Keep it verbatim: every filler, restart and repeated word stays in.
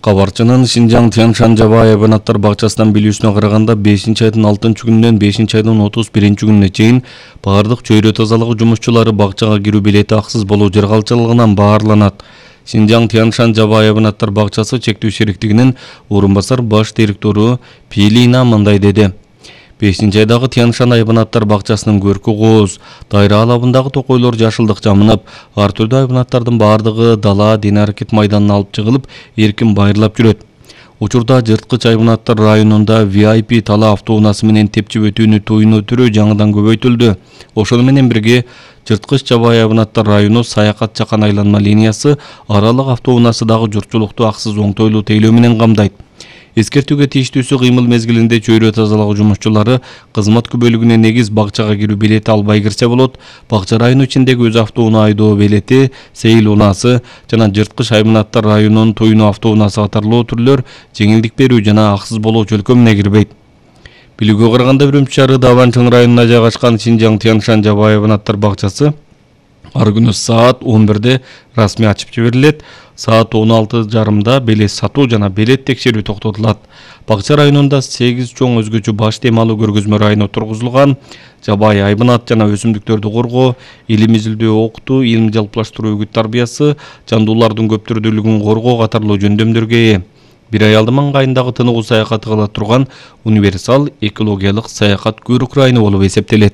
Кабарчынын Шинжаң Тяньшань жабайы хайванаттар бакчасынан билүүсүнө караганда бешинчи айдын алтынчы күнүнөн бешинчи айдын отуз биринчи күнүнө чейин баардык чөйрө тазалыгы жумушчулары бакчага кирүү билети аксыз болуу жаргалчылыгынан баарланат. Шинжаң Тяньшань жабайы хайванаттар бакчасы чектүү шериктигинин орун басар баш директору Пилина мындай деди. бешинчи айдагы Тяньшань хайванаттар бакчасынын көркү кооз, дайра алабындагы токойлор жашылдык жамынып, ар түрдүү хайванаттардын баардыгы дала дене аракет майданына алып чыгылып, эркин байырлап жүрөт. Учурда жырткыч хайванаттар районунда ви ай пи тала автоунаасы менен тепчип өтүүнү тоюнуу түрү жаңыдан көбөйтүлдү. Ошону менен бирге жырткыч жабайы хайванаттар району саякат чакан айланма линиясы аралык автоунаасы дагы журтчулукту аксыз оңтойлуу тейлөө менен камдайт. Эскертүүгө тийиштүүсү кыймыл мезгилинде чөйрө тазалыгы жумушчулары кызмат күбөлүгүнө негиз бакчага кирүү билети албай кирсе болот. Бакча району ичиндеги өз автоунаа айдоо билети, сейил унаасы жана жырткыч хайванаттар районунун тоюнуу автоунаасы катарлуу түрлөр жеңилдик берүү жана аксыз болуу чөлкөмүнө кирбейт. Билүүгө караганда Үрүмчү шаары Даванчың районуна жайгашкан Шинжаң Тяньшань жабайы хайванаттар бакчасы ар күнү саат он бирде расмий ачып жиберилет. Саат он алты жарымда белес сатуу жана белет текшерүү токтотулат. Бакча районунда сегиз чоң өзгөчө баш темалуу көргөзмө району тургузулган. Жабайы хайванат жана өсүмдүктөрдү коргоо, илим изилдөө, окутуу, илим жалпылаштыруу, үгүт тарбиясы, жандуулардын көп түрдүүлүгүн коргоо катарлуу жөндөмдөргө ээ. Бир аялдын маңгайындагы тыныгуу саякаты кыла турган универсал экологиялык саякат көрүк району болуп эсептелет.